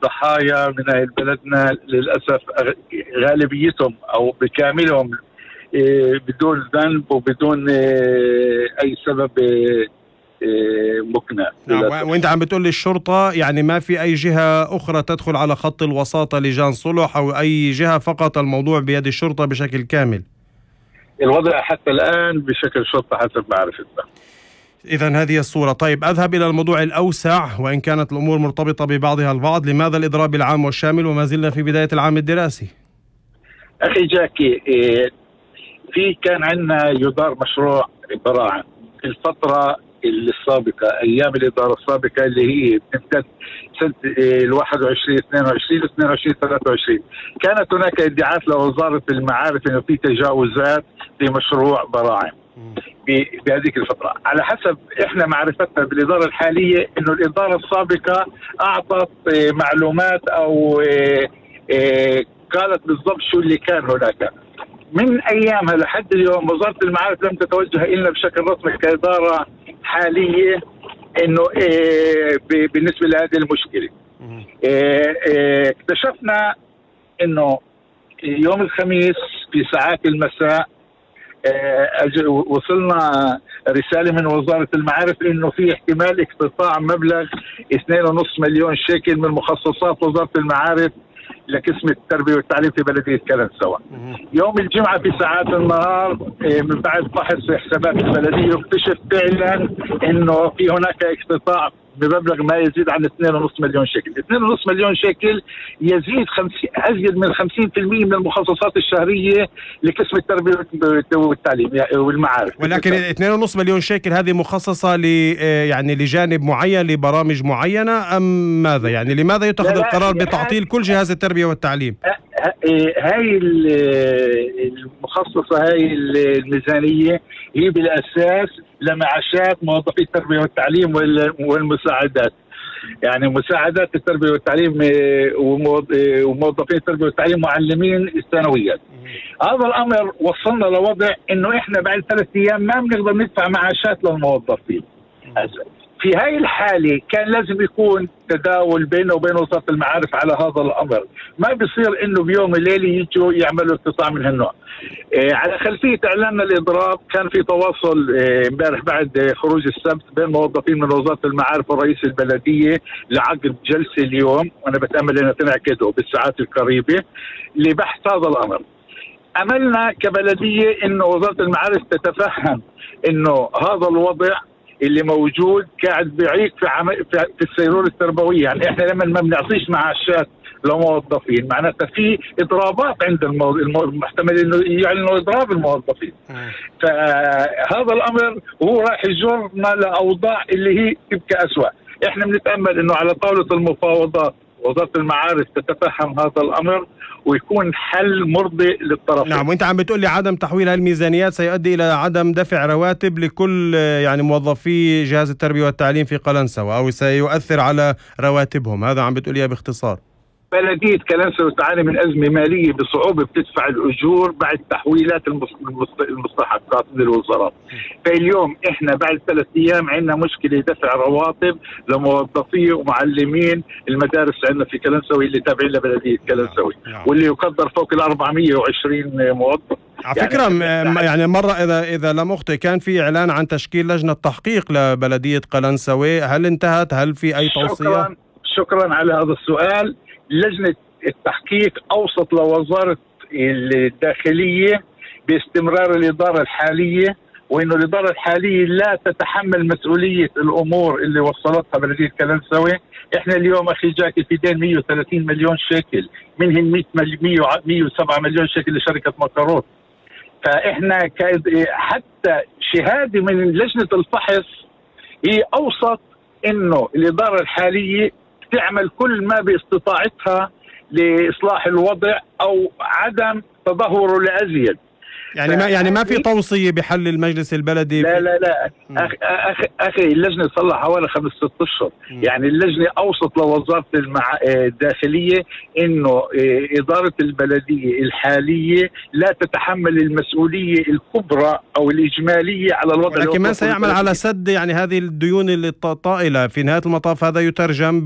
ضحايا من بلدنا للأسف غالبيتهم أو بكاملهم بدون ذنب وبدون أي سبب مقنع. وانت عم بتقول لي الشرطة يعني ما في أي جهة أخرى تدخل على خط الوساطة لجان صلح أو أي جهة، فقط الموضوع بيد الشرطة بشكل كامل؟ الوضع حتى الآن بشكل شرطة حسب معرفتنا. إذن هذه الصورة. طيب أذهب إلى الموضوع الأوسع، وإن كانت الأمور مرتبطة ببعضها البعض، لماذا الإضراب العام والشامل وما زلنا في بداية العام الدراسي؟ أخي جاكي، كان عندنا يدار مشروع براعم في الفترة السابقة، أيام الإدارة السابقة اللي هي بتمتد سنة 21 22 22 23. كانت هناك ادعاءات لوزارة المعارف إنه في تجاوزات في مشروع براعم بهذيك الفترة. على حسب إحنا معرفتنا بالإدارة الحالية إنه الإدارة السابقة أعطت معلومات أو قالت بالضبط شو اللي كان هناك. من أيامها لحد اليوم وزارة المعارف لم تتوجه إلا بشكل رسمي كإدارة حالية إنه بالنسبة لهذه المشكلة. اكتشفنا إنه يوم الخميس في ساعات المساء وصلنا رسالة من وزارة المعارف إنه في احتمال اقتطاع مبلغ 2.5 مليون شيكل من مخصصات وزارة المعارف لقسم التربية والتعليم في بلدية كلنسوة. يوم الجمعة في ساعات النهار من بعد فحص حسابات البلدية اكتشف فعلا إنه في هناك اقتطاع بمبلغ ما يزيد عن 2.5 مليون شيكل. 2.5 مليون شيكل يزيد أزيد من 50% من المخصصات الشهرية لقسم التربية والتعليم والمعارف. ولكن 2.5 مليون شيكل هذه مخصصة يعني لجانب معين، لبرامج معينة، أم ماذا؟ يعني لماذا يتخذ القرار بتعطيل كل جهاز التربية والتعليم؟ هاي المخصصة، هاي الميزانية هي بالأساس لمعاشات موظفي التربية والتعليم والمساعدات، يعني مساعدات التربية والتعليم وموظفين التربية والتعليم معلمين الثانويات. هذا الأمر وصلنا لوضع إنه إحنا بعد 3 أيام ما بنقدر ندفع معاشات للموظفين. في هاي الحالة كان لازم يكون تداول بينه وبين وزارة المعارف على هذا الأمر. ما بيصير إنه بيوم الليلة يجوا يعملوا اقتطاع من هالنوع. على خلفية إعلان الإضراب كان في تواصل امبارح بعد خروج السبت بين موظفين من وزارة المعارف ورئيس البلدية لعقد جلسة اليوم، وأنا بتأمل أنها تنعقد بالساعات القريبة لبحث هذا الأمر. أملنا كبلدية إنه وزارة المعارف تتفهم إنه هذا الوضع اللي موجود قاعد بيعيق في السيرورة التربوية. يعني إحنا لما ما بنعطيش معاشات لموظفين معناتها في إضرابات عند المحتمل إنه يعلنوا إضراب الموظفين. فهذا الأمر هو راح يجرنا لأوضاع اللي هي تبقى أسوأ. إحنا بنتأمل إنه على طاولة المفاوضات وزارة المعارف تتفهم هذا الأمر ويكون حل مرضي للطرفين. نعم. وانت عم بتقول لي عدم تحويل هالميزانيات سيؤدي الى عدم دفع رواتب لكل يعني موظفي جهاز التربية والتعليم في قلنسوة، او سيؤثر على رواتبهم، هذا عم بتقول لي باختصار؟ بلدية كلنسوة تعاني من أزمة مالية بصعوبة بتدفع الأجور بعد تحويلات المستحقات من الوزارات. فاليوم إحنا بعد 3 أيام عندنا مشكلة دفع رواتب لموظفي ومعلمين المدارس عندنا في كلنسوة اللي تابعين لبلدية كلنسوة، واللي يقدر فوق 420 موظف. على فكرة يعني مرة إذا لم أخطئ كان في إعلان عن تشكيل لجنة تحقيق لبلدية قلنسوة، هل انتهت؟ هل في أي توصية؟ شكرا على هذا السؤال. لجنة التحقيق أوصت لوزارة الداخلية باستمرار الإدارة الحالية، وإنه الإدارة الحالية لا تتحمل مسؤولية الأمور اللي وصلتها بلدية كلنسوة. إحنا اليوم أخي جاكي في دين 130 مليون شيكل، منهم 107 مليون شيكل لشركة مكروت. فإحنا حتى شهادة من لجنة الفحص هي أوصت إنه الإدارة الحالية تعمل كل ما باستطاعتها لإصلاح الوضع أو عدم تدهوره لأزيد. يعني ما في توصية بحل المجلس البلدي؟ لا أخي اللجنة صار لها حوالي 5-6 أشهر. يعني اللجنة أوصت لوزارة الداخلية إنه إدارة البلدية الحالية لا تتحمل المسؤولية الكبرى أو الإجمالية على الوضع. لكن من سيعمل على سد يعني هذه الديون الطائلة؟ في نهاية المطاف هذا يترجم